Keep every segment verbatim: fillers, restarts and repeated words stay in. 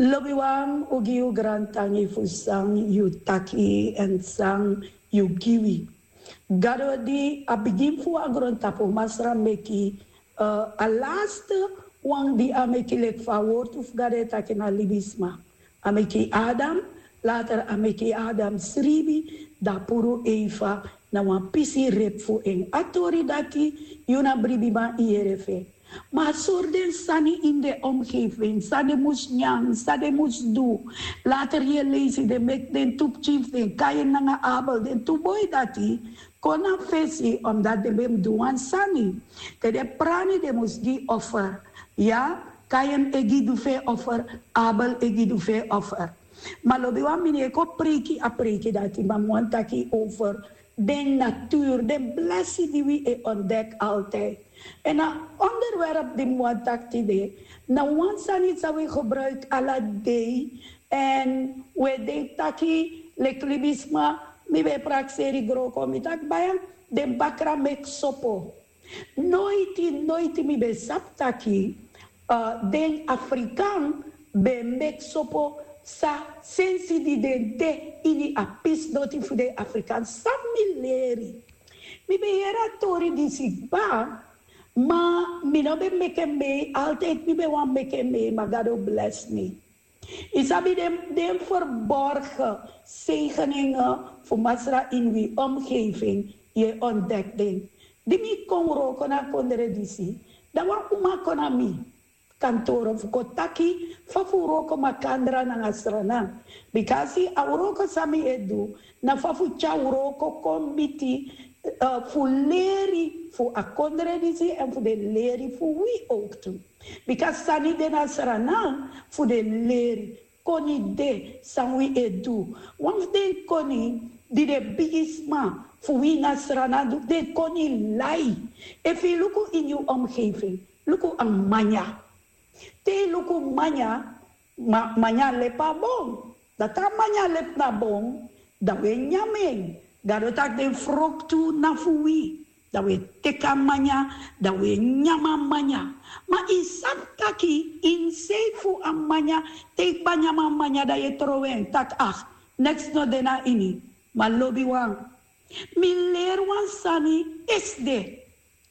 Lobiwan, un gi yu grantangi fu san yu taki èn san yu gi wi. Gado di a bigin fu a grontapu, Masra meki, eh, a laste wan di a meki, leki fa a wortu fu Gado e taki na libisma. A meki Adam, later a meki Adam sribi, dan a puru Eva na wan pisi repu fu en. A tori dati, yu na bribiman, yu yere fu en. Ma a sori den sani ini den omgeving, san den mus nyan, san den mus du. Later yu e leisi den meki den tu pikin fu den, Kain nanga Abel, den tu boi dati kon na fesi, omdat den ben mus du wan sani. Te den prani, den mus gi offer. Ya, Kain e gi du fu en offer, Abel e gi du fu en offer. Ma lobiwan, mi no e kon preiki a preiki dati, ma mi wani taki over den natuur, den blesi di wi e ontdek altijd. Èn a onderwerp di mi wani taki tide, na wan sani san wi gebruik ala dei, èn wi e denki taki, leki libisma, mi ben e prakseri groko, mi taki baya, den bakra meki sopo. Noiti, noiti mi ben sabi taki, eh, den Afrikan ben meki sopo, san sensi di den de ini a pisi noti fu den Afrikan, san mi leri. Mi ben yere a tori disi kba, ma mi no ben meki en mee, altijd mi ben wani meki en mee, ma Gado blesi mi. Yu sabi den, den verborgen zegeningen fu Masra ini wi omgeving, yu e ontdek den. Di mi kon wroko na kondre disi, dan wan uma kon na mi kantoro fu kon taki fa fu wroko makandra nanga Sranan. Bikasi a wroko san mi e du, na fa fu tyari wroko kon miti, eh, fu leri fu a kondre disi èn fu den leri fu wi ook tu. Bika sani de na Sranan fu den leri, koni de san wi e du. Wan fu den koni di den bigisma fu wi na Sranan du, den koni lai. Efu yu luku ini yu omgeving, luku a manya. Te yu luku manya, ma, manya lepa bon. Dan te a manya lepi na bon, dan wi e nyan en. Gado taki den froktu na fu wi. Dan wi e teki a manya, dan wi e nyan a manya. Ma yu sabi taki insei fu a manya, te yu kba nyan a manya, dan yu e trowe en, taki ah, neks no de na ini. Ma lobiwan, mi leri wan sani esde.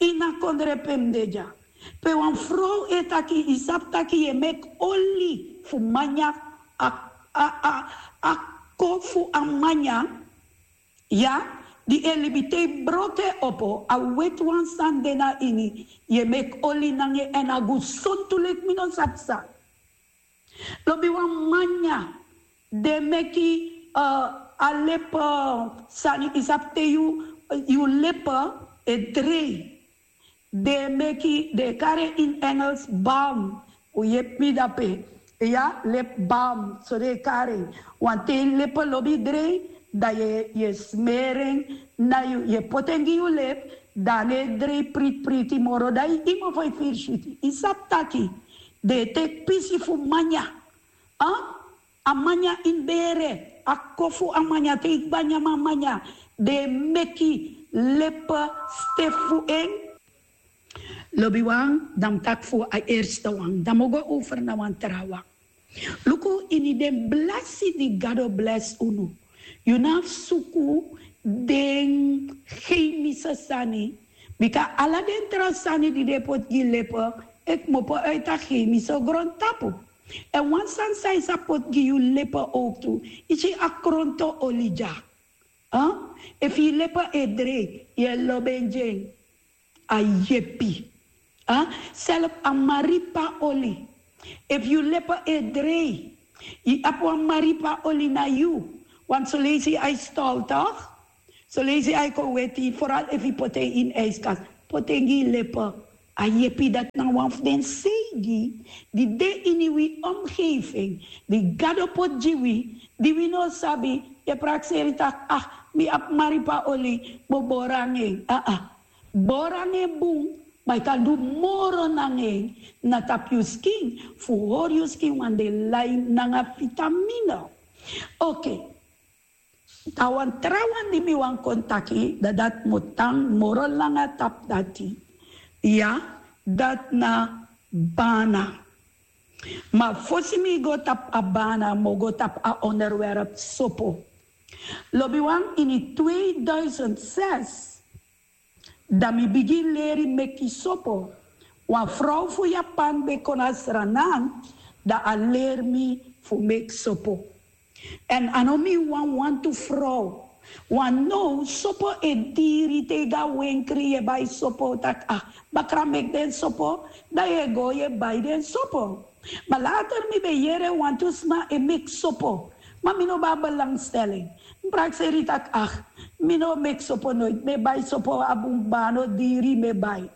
Ini a kondre pe mi de dya, pe wan frow e taki, yu sabi taki yu e meki oli fu manya, a, a, a, a ko fu a manya, ya, di e libi, te yu broko en opo, a weti wan sani de na ini, yu e meki oli nanga en èn a gesontu leki mi no sabi san. Lobiwan, manya, den meki, eh, a lepe, eh, sani, yu sabi te yu, yu lepe e drei. Den meki, den e kari en ini Engels balm. Un yepi mi dape. Ya, lip balm, so den e kari en. Want te yu lepe lobi drei, dan yu e, yu e smeri en na yu, yu e poti en gi yu lip, dan a no e drei priti priti moro, dan yu mofo e firi switi. Yu sabi taki den e teki pisi fu manya. A, a manya ini bere, a ko fu a manya, te yu kba nyan a manya, den e meki lepe stefu fu en. Lobiwan, dan mi taki fu a eerste wan, dan mi o go over na wan trawan. Luku ini den blesi di Gado blesi unu. Yu no abi suku den chemische sani. Bika ala den tra sani di den poti gi lepe, e kmopo uit a chemische grontapu. Èn wan sani san yu sa poti gi yu lepe ook tu, yu si a kronto oli dya. A? Efu yu lepe e drei, yu e lobi en gi en. A yepi. A? Self a maripa oli. Efu yu lepe e drei, yu abi wan maripa oli na yu. Want son leisi a e stol, toch? Son leisi a e kon weti, vooral efu yu poti en ini ijskast. Poti en gi yu lepe. A yepi. Dati na wan fu den seigi di de ini wi omgeving, di Gado poti gi wi, di wi no sabi. Yu e prakseri taki, ah, mi abi maripa oli, mi o bori nanga en. Aa. Bori nanga en bun, ma yu kan du moro nanga en na tapu yu skin, fu hori yu skin wan de lai nanga vitamine. Oké. Dan wan trawan di mi wani kon taki, dan dati mi o tan moro langa tapu dati. Ya, dati na bana. Ma fosi mi go tapu a bana, mi o go tapu a onderwerp sopo. Lobiwan, ini tweeduizend zes, dan mi bigin leri meki sopo. Wan frow fu Japan ben kon na Sranan, dan a leri mi fu meki sopo. Èn a no mi wan wantu frow. Wan now sopo e diri, te yu go na wenkri yu e bai sopo, taki, ah, bakra meki den sopo, dan yu e go yu e bai den sopo. Ma later mi ben yere wantu sma e meki sopo. Ma mi no ben abi belangstelling. Mi prakseri taki, ah, mi no meki sopo noiti. Mi e bai sopo a bun kba, a no diri, mi e bai.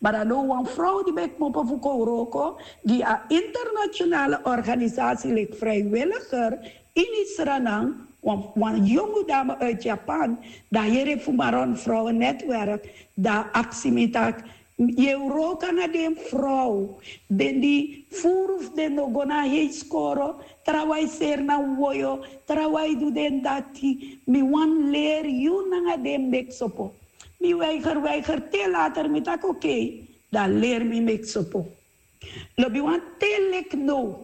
Ma dan now wan frow di ben kmopo fu kon wroko gi a internationale organisatie leki vrijwilliger ini Sranan, wan, wan yongu dame uit Japan, dan a yere fu Maron Vrouwen Netwerk, dan a aksi mi taki, yu e wroko nanga den frow, den di furu fu den no go na hei skoro, trawan e seri na woyo, trawan e du den dati, mi wani leri yu nanga den meki sopo. Mi weiger, weiger, te later mi taki oké, dan leri mi meki sopo. Lobiwan, te leki now,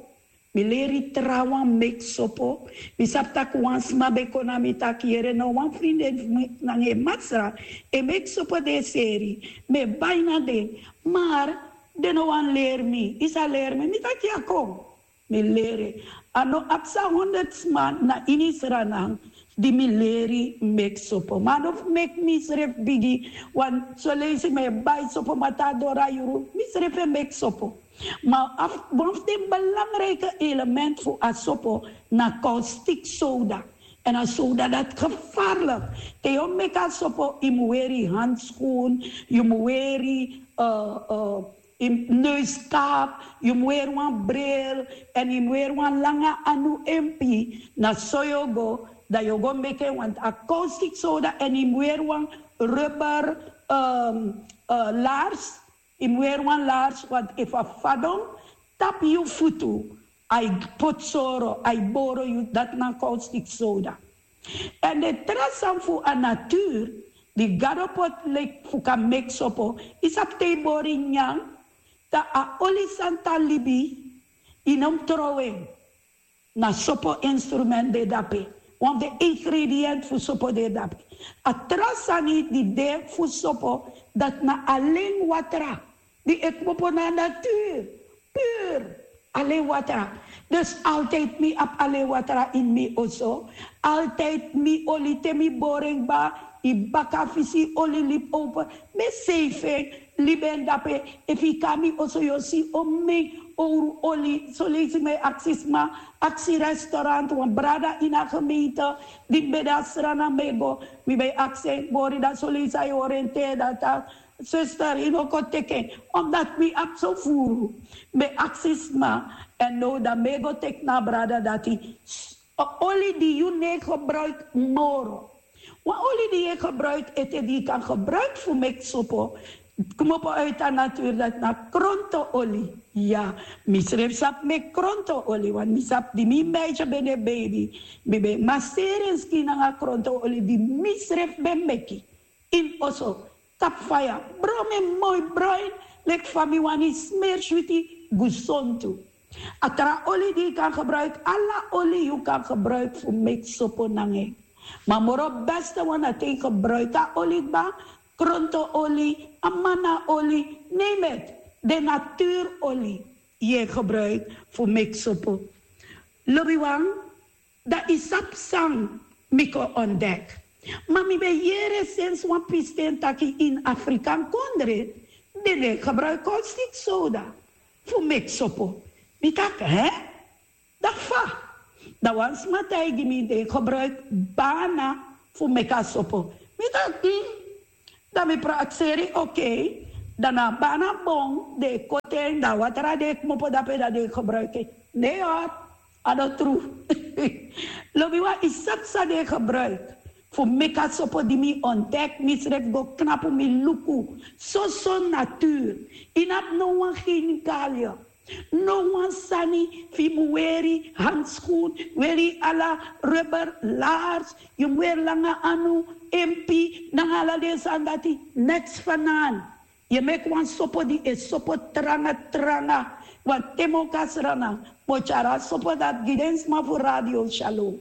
mi leri trawan meki sopo. Mi sabi taki wan sma ben kon na mi taki, yere, na wan vriendin fu mi nanga en masra e meki sopo den seri. Mi e bai na den, maar den no wani leri mi. Yu sa leri mi? Mi taki ya, kon. Mi leri. A no abi san honderd sma na ini Sranan di mi leri meki sopo. Ma a no fu meki misrefi bigi, want soleisi mi e bai sopo, ma te a doro a yuru, misrefi e meki sopo. Ma a wan fu den belangrijke element fu a sopo na caustic soda. Èn a soda dati gevaarlijk. Te yu o meki a sopo, yu mu weri handschoen, yu mu weri, eh, eh, yu mu neuskap, yu mu weri wan bril, èn yu mu weri wan langa anu empi. Na so yu o go, dan yu o go meki en, want a caustic soda, èn yu mu weri wan rubber, ehm, eh, laars, yu mu weri wan laars, want efu a fadon tapu yu futu, a e poti soro, a e boro yu, dati na caustic soda. Èn den tra sani fu a natuur di Gado poti leki fu kan meki sopo, yu sabi, te yu bori nyanyan, dan a oli san tan libi, yu no mu trowe en. Na sopo instrument de dape. Wan fu den ingrediënt fu sopo de dape. A tra sani di de fu sopo, dati na alen watra di e kmopo na natuur. Puur. Alen watra. Dus altijd mi abi alen watra in mi oso. Altijd mi oli, te mi bori en kba, yu baka fu si oli libi open. Mi e seifi en, libi en dape. Efu yu kon na mi oso yu o si omeni owru oli. Soleisi mi e aksi sma, aksi restaurant, wan brada ini a gemeente di mi ben de na Sranan, mi e go, mi ben e aksi en, bori, dan soleisi a e oriënteer, dan taki, zuster, yu no kon teki en, omdat mi abi so furu. Mi ben e aksi sma, èn now dan mi e go teki na a brada dati. S-, oli di yu no e gebruik moro. Wan oli di yu e gebruik ete, di yu kan gebruik fu meki sopo, kmopo uit a natuur, dati na kronto-oli. Ya, misrefi sabi meki kronto-oli, want mi sabi di mi meisje ben de baby, mi ben e maseri en skin nanga kronto-oli di misrefi ben meki ini oso, tapu faya, bron en moi bruin, leki fa mi wani, smeri switi, gesontu. A tra oli di yu kan gebruik, ala oli yu kan gebruik fu meki sopo nanga en. Ma moro beste wan na te yu gebruik a oli kba, kronto-oli, amana-oli, name it, den natuur-oli yu e gebruik fu meki sopo. Lobiwan, dan yu sabi san mi kon ontdek. Ma mi ben yere sensi wan pisten taki ini Afrikan kondre den no e gebruik caustic soda fu meki sopo. Mi taki, hè? Dan fa? Dan wan sma taigi mi den e gebruik bana fu meki a sopo. Mi taki, hmm. Dan mi prakseri, oké. Dan na a bana bon den e koti en, dan a watra di e kmopo dape, dan den e gebruik en. Nee hoor, a no tru. Lobiwan, yu sabi san den e gebruik fu meki a sopo? Di mi ontdek, misrefi go knapu, mi luku. Soso natuur. Yu no abi no wan chemicaliën. No wan sani fu yu mu weri handschoen, weri ala rubber laars, yu mu weri langa anu empi, nanga ala den sani dati, neks fanaan. Yu e meki wan sopo di e sopo tranga tranga. Wan te mi o kon na Sranan, mi o tyari a sopo dati gi den sma fu Radio Shalom.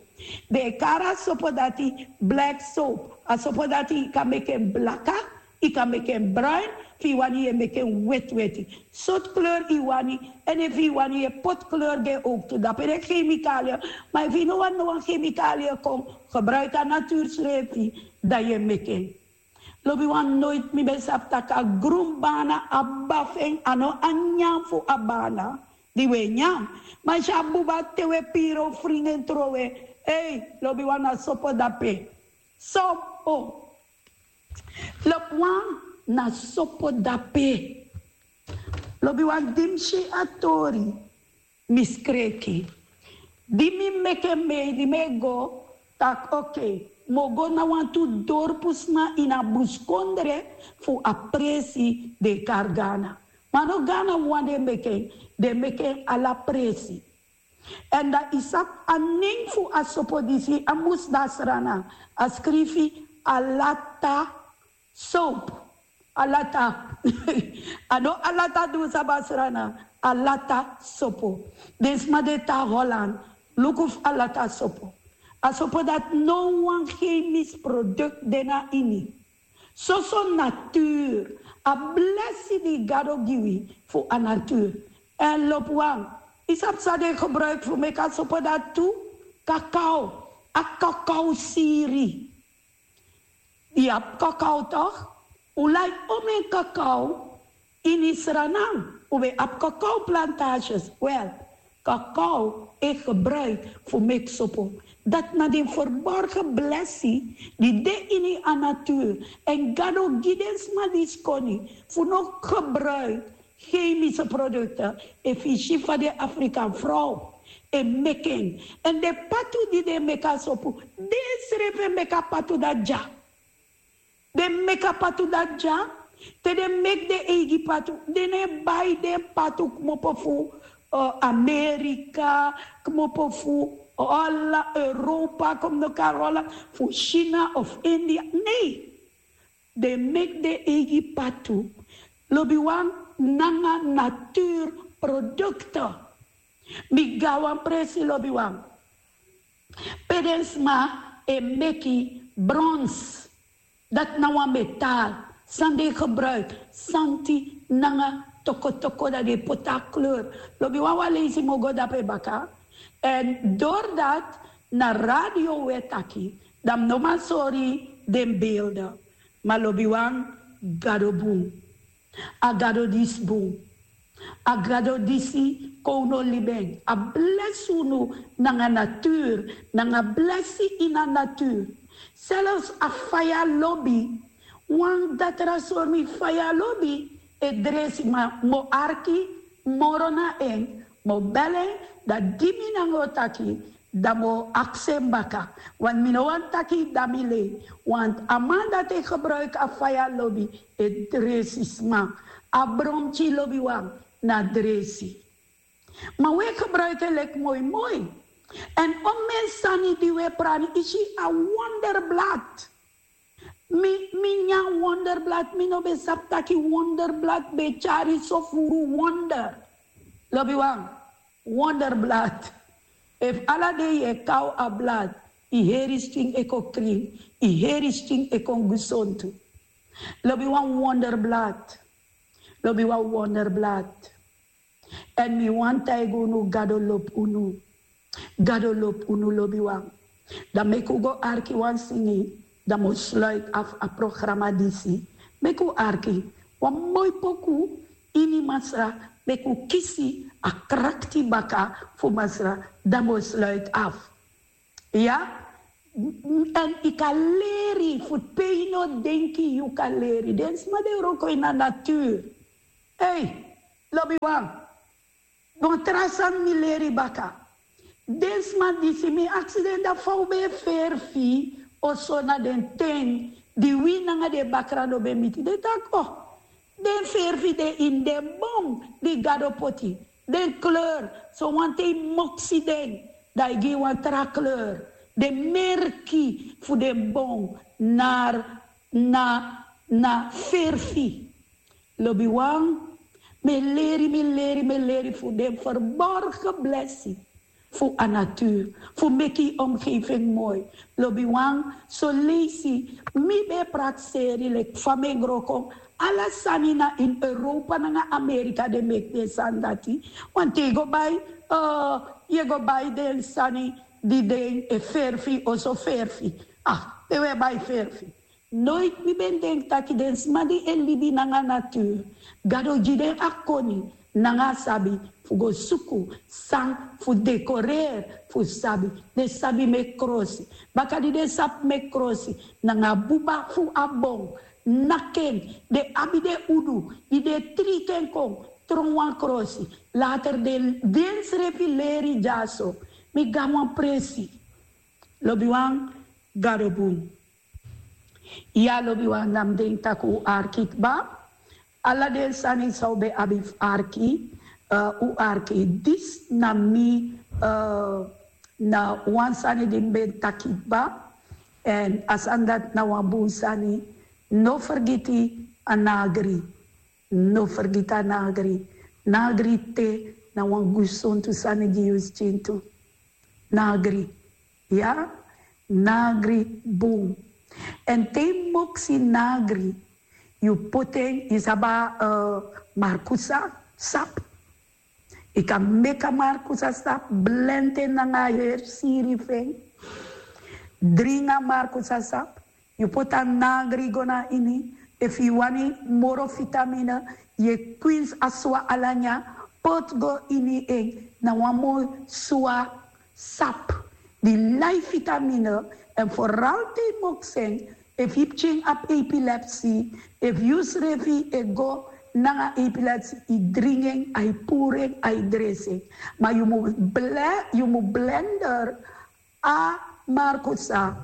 Den e kari a sopo dati black soap. A sopo dati yu kan meki en blaka, yu kan meki en bruin, efu yu wani yu e meki en wetiweti. Sortu kleur yu wani, èn efu yu wani yu e poti kleur gi en owktu. Dape den kemikalia, ma efu yu no wani no wan kemikalia kon, gebruik a natuur srefi, dan yu e meki en. Lobiwan, noiti mi ben sabi tak' a grun bana, a bafu en, a no a nyan fu a bana di wi e nyan. Ma yu si a buba te wi e piri o fringi en trowe. Ei, lobiwan, na sopo dape. Sopo. Lobiwan, na sopo dape. Lobiwan, di mi si a tori, mi skreki. Di mi meki en mei, di mi e go, tak' okei, mi o go na wantu dorpusma ini a buskondre fu a presi den e kari Gana. Ma no Gana wawan den e meki en, den e meki en ala presi. Èn dan yu sabi a nen fu a sopo disi, a mus de na Sranan, a skrifi alata soap. Alata. A no alata di un sabi na Sranan. Alata sopo. Den sma di e tan Holland, luku fu alata sopo. A sopo dati no wan chemisch product de na ini. Soso natuur. A blesi di Gado gi wi fu a natuur. Èn lobiwan, yu sabi san den gebruik fu meki a sopo dati tu? Kakao. A kakao siri. Yu abi kakao toch? Un lai omeni kakao. Ini Sranan un ben abi kakao plantages. Wel, kakao e gebruik fu meki sopo. Dati na den verborgen blesi di de ini a natuur. Èn Gado gi den sma disi koni fu no gebruik chemische producten. Efu yu si fa den Afrikan frow e meki en. Èn den patu di den e meki a sopo, den srefi e meki a patu dati dya. Den e meki a patu dati dya. Te den meki den eigi patu, den no e bai den patu kmopo fu, eh, Amerika, kmopo fu, eh, Hola-, Europa, kom no kari Hola, fu China of India. Nee. Den meki den eigi patu. Lobiwan, nanga natuurprodukten. Mi go na wan presi, lobiwan, pe den sma e meki brons. Dati na wan metaal san den e gebruik, santi nanga tokotoko, dan den e poti a kleur. Lobiwan, wan leisi mi o go dape baka. Èn doordat na radio wi e taki, dan mi no man sori den beelden. Ma lobiwan, Gado bun. A Gado disi bun. A Gado disi, kon un no libi en. A blesi unu nanga natuur, nanga blesi ini a natuur. Zelfs a faya lobi, wan datra sori mi, faya lobi e dresi, ma mi o arki moro na en, mi o bel en, dan di mi nanga en o taki, dan mi o aksi en baka. Want mi no wani taki dan mi lei. Want a man dati e gebruik a faya lobi e dresi sma. A bromki, lobiwan, na dresi. Ma wi e gebruik en leki moi moi. Èn omeni sani di wi e prani, yu si a wonderblad. Mi, mi nyan wonderblad, mi no ben sabi taki wonderblad ben e tyari so furu wonder. Lobiwan, wonderblad. Efu ala dei yu e kaw a blad, yu heri skin e kon krin, yu heri skin e kon gesontu. Lobiwan, wonderblad. Lobiwan, wonderblad. Èn mi wani taigi unu, Gado lobi unu. Gado lobi unu, lobiwan. Dan meki un go arki wan singi, dan mi o sluit af a programa disi. Meki un arki wan moi poku ini Masra, meki un kisi a krakti baka fu Masra, dan mi o sluit af. Ya? Èn yu kan leri fu pe yu no denki yu kan leri. Den sma di e wroko ini a natuur. Ei, lobiwan. Wan tra sani mi leri baka. Den sma disi, mi aksi den, dan fa un ben e ferfi oso na den ten di wi nanga den bakra no ben miti? Den taki, oh, den ferfi den ini den bon di Gado poti. Den kleur, so wanten yu moksi den, dan yu gi wan tra kleur. Den merki fu den bon na, na, na ferfi. Lobiwan, Mi e leri, mi e leri, mi e leri fu den verborgen blessing fu a natuur, fu meki yu omgeving moi. Lobiwan, soleisi mi ben e prakseri leki fa mi e gro kon. Ala sani na ini Europa nanga Amerika den meki den sani dati. Want te yu go bai, eh, yu e go bai den sani di den e ferfi, oso ferfi. Ah, den we bai ferfi. Noiti mi ben denki taki den sma di e libi nanga natuur, Gado gi den a koni nanga a sabi fu go suku san fu dekoreri fu sabi. Den sabi meki krosi. Baka di den sabi meki krosi nanga a buba fu a bon, naki en, den abi den udu di den e triti en kon tron wan krosi. Later den, den srefi leri dyaso. Mi gi a wan presi. Lobiwan, Gado bun. Ya, lobiwan, na mi denki taki un arki kba. Ala den sani san un ben abi fu arki, eh, un arki. Disi na mi, eh, na wan sani di mi ben taki kba. Èn a sani dati na wan bun sani. No fergiti a nagri. No fergiti a nagri. Nagri te na wan gesontu sani gi yu skin tu. Nagri. Ya, nagri bun. Èn te yu moksi nagri, yu poti en, yu sabi a, eh, markusa sap. Yu kan meki a markusa sap, blendi en nanga a heri siri fu en. Dringi a markusa sap, yu poti a nagri go na ini. Efu yu wani moro vitamine, yu e kwinsi a swa ala nyan, poti go ini en, na wan moi swa sap di lai vitamine. Èn foral te yu moksi en, efu yu pikin abi epilepsi, efu yu srefi e go nanga epilepsi, yu dringi en, a e puru en, a e dresi en. Ma yu mu ble-, yu mu blender a markusa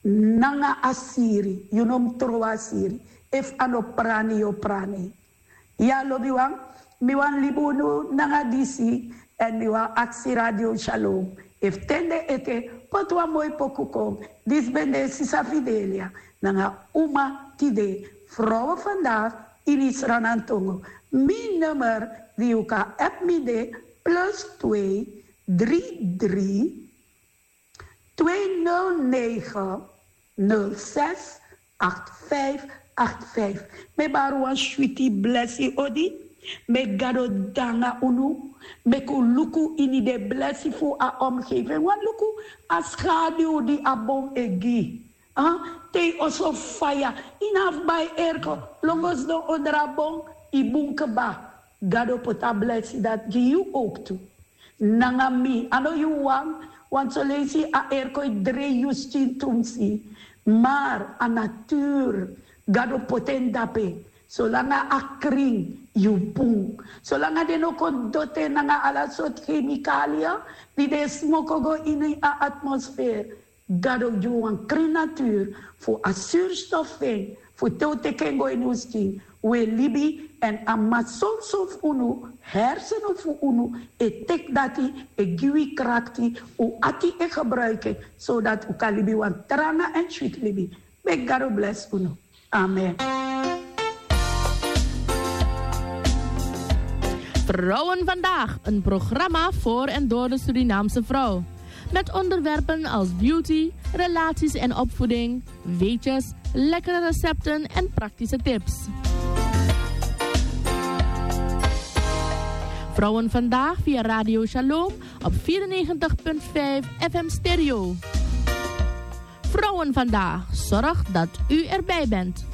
nanga a siri, yu no mu trowe a siri. Efu a no prani, yu o prani. Ya, lobiwan, mi wani libi unu nanga disi, èn mi wani aksi Radio Shalom efu ten de ete poti wan moi poku kon. Disi ben de Sisa Fidelia nanga Uma Tide, Vrouwen Vandaag, ini Sranantongo. Mi nummer di yu kan app mi de plus twee drie drie twee nul negen nul zes acht vijf acht vijf. Mi e bari wan switi blesi odi. Meki Gado de nanga unu. Meki un luku ini den blesi fu a omgeving. Wani luku a skadu di a bon e gi. Ah, te yu oso faya, yu no abi bai airco, lon go sidon onder a bon, yu bun kba. Gado poti a blesi dati gi yu ook tu. Nanga mi, a no yu wan, want soleisi a airco e drei yu skin tumsi. Maar a natuur, Gado poti en dape. Solanga a krin, yu bun. Solanga den no kon doti en nanga ala sortu chemicalia di den e smoko go ini a atmosfeer. Gado gi wan krin natuur fu a zuurstof fu en, fu te un teki en go ini un skin, un e libi. Èn a masonso fu unu, hersenen fu unu e teki dati, e gi wi krakti, un ati e gebruiki en, zodat un kan libi wan tranga èn switi libi. Meki Gado blesi unu. Amen. Vrouwen Vandaag, een programma voor en door de Surinaamse vrouw. Met onderwerpen als beauty, relaties en opvoeding, weetjes, lekkere recepten en praktische tips. Vrouwen Vandaag via Radio Shalom op vierennegentig punt vijf F M Stereo. Vrouwen Vandaag zorgt dat u erbij bent.